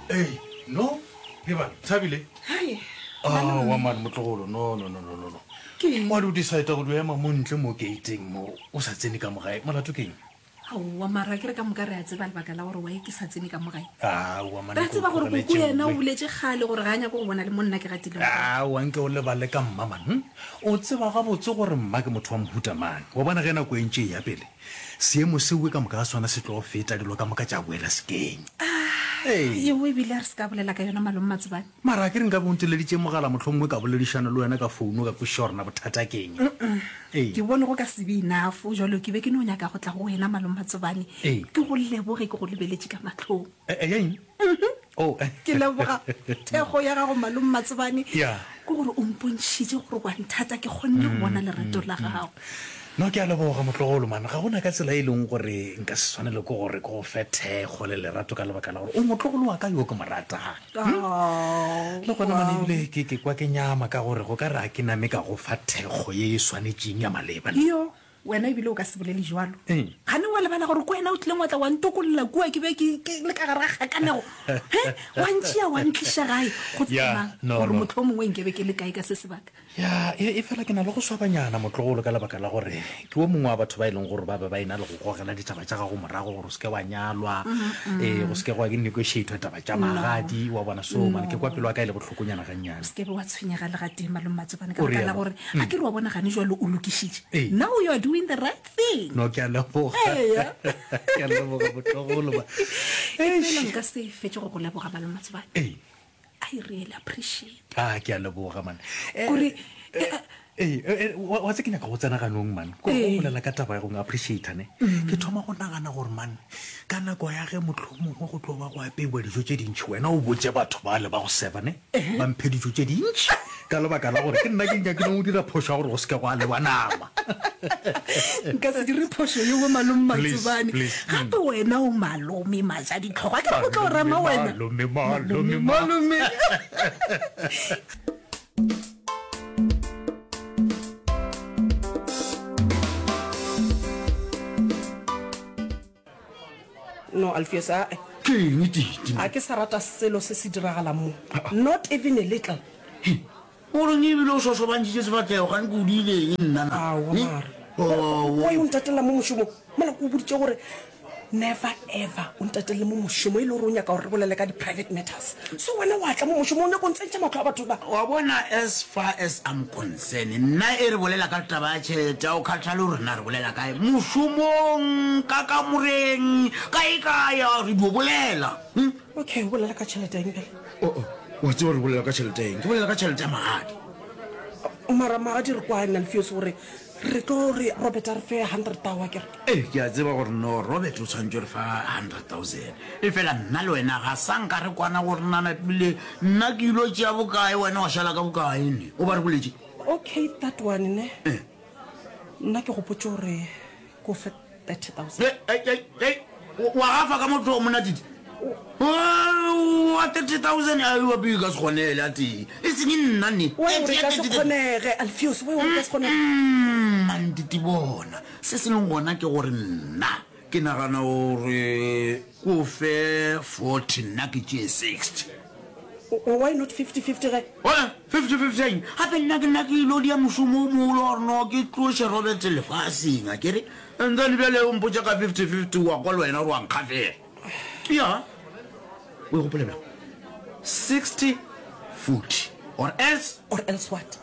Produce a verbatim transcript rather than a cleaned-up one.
Ei, no, ke bana, Thabile. Hai. Aowa man, motlogolo, no, no, no, no, no, no. Ke eng? Wa di o decide go dio ema mo ntle mo gate-eng mo, o sa tsene ka mo gae, molato ke eng? Aowa, mara ke re ka moka re a tseba lebaka la gore why ke sa tsene ka mo gae. Aowa man, Re a nke o tseba gore tlogele koko yena o tšeoe. boletše kgale gore ga a nyake go bona le mo nna ke gatilego gona. Aowa, nke o lebale ka mma man, hm? O tseba gabotse gore mma ke motho wa mohuta mang. Wa bona ge nako e ntše e ya pele, seemo seoe ka moka ga sona se tlo feta, dilo ka moka tša boela sekeng. Ah, yeo ebile a re se ka bolela ka yona malome Matsobane. Mara a ke re nka be o nteleditše mogala mohlomongwe ka boledišana le wena ka founo ka kwešiša gore na bothata ke eng. Ee. Ke bone go ka se be enough, jwalo ke be ke no nyaka go tla go wena malome Matsobane, Ee. ke go leboge ke go lebeletše ka mahlong. E, e, ya eng? Oh. Ke leboga thekgo ya gago malome Matsobane, Ya. ke gore o mpontšhitše gore wa nthata, ke kgonne go bona lerato la gago. No, ke a leboga motlogolo man, ga gona ka tsela e leng gore nka se swanele ke gore ke go fe thekgo le lerato ka lebaka la gore o motlogolo wa ka yo ke mo ratang. Oh, Le gona man wow. ebile ke ke kwa ke nyama ka gore go ka re a ke name ka go fa thekgo ye e swanetšeng ya maleba. Yo, wena ebile o ka se bolele jwalo. Eng? Gane wa lebala gore ke wena o tlileng wa tla wa ntokolla kua ke be ke ke le ka gare ga kgakanego. He, wa ntšea wa ntliša gae go tseba Ya, mang no, gore no. mohlomongwe nke be ke le kae ka se sebaka. Ya, e, efela ke na le go swabanyana, motlogolo, ka lebaka la gore ke wo mongwe wa batho ba e leng gore ba be ba e-na le go gogela ditaba tša gago morago gore o se ke wa nyalwa, ee, go se ke gwa negotiatwa taba tša No, magadi, wa bona. So, man, ke kwa no. pelo ya ka e le bohlokonyana gannyane. O se ke be wa tshwenyega le gatee, Malome Matsobane, ka O baka la realo? gore a ke re wa bona gane jwalo o lokišitše. Ee. Now you are doing the right thing. No, ke a leboga. Eya. Ke a leboga, motlogolo, man. Efela Eish. nka se fetše go go leboga, Malome Matsobane. Ee. I really appreciate. Ah, ke a leboga man. Eh, Kore, eh, eh, eh, wa wa tse ke nyaka go tsena ganong man. Ko go Ee. bolela ka taba ya go appreciate ne. Ke thoma go nagana gore man, ka nako ya ge mohlomongwe go tlo ba go apeiwa dijo tše dintši, wena o botše batho bale ba go serva ne, ba mphe dijo tše dintši ka lebaka la gore ke nna ke nyakileng go dira phošo ya gore go se ke gwa lewa nama. Nka se dire phošo yeo malome Please, Matsobane. please. Mm. Gape wena o malome majaditlhogo. A ke re go tlo Malome, rema wena. malome, malome, Malome, ma. malome. No, Alfios, a-e. Ke eng Titi? A ke sa rata selo se se diragalang mo. Not even a little. He, o reng ebile o šošobantšitše sefahlego gane ke o diile eng nna na? Aowa He? mara. Oh, Why o ntatella mo mošomong? Mola ke o boditše gore never ever o ntatelle mo mošomong e le gore o nyaka gore re bolele ka di-private matters. So wena wa tla mo mošomong o nyaka go ntsentšha mahlo a batho ba. Wa bona as far as I'm concerned nna e re bolela ka taba ya tšhelete ga o kgathale gore na re bolela kae, mošomong, ka kamoreng, kae kae a re dio bolela. Hm? Okay, o bolela ka tšhelete ya eng bjale? Oh, oh, wa tseba gore bolela ka tšhelete ya eng? Ke bolela ka tšhelete ya magadi. Mara magadi re kwane Alfios gore re tlo re Robert a re fe hundred thou akere? Ee, ke a tseba gore no Robert o tshwanetše re fa hundred thousand. Efela nna le wena ga sa nka re kwana gore na napile nna ke ilo tšea bokae wena wa šala ka bokae ne? O ba re boletše? Okay, that one ne. Eh. Nna ke gopotše gore ke o fe thirty thousand. Hei, hei, hei, hei, wa gafa ka motho monna Titi? Wa thirty thousand a wa pele ka se kgonele a tee. E seng nna ne. Why o re ka se kgonege, Alfios, why o re ka se kgonege? Man Titi bona, se se leng gona ke gore nna ke nagana gore ke o fe forty nna ke tšee sixty. Why not fifty fifty ge? Oe, fifty fifty eng? Gape nna ke nna ke ilo dia mošomo o mogolo wa gore no ke tloše Robert lefaseng, a ke re? And then bjale o mpotša ka fifty fifty, wa kwa le wena gore wa nkgafela. Ya, o e gopola bjang? Sixty forty or else. Or else what?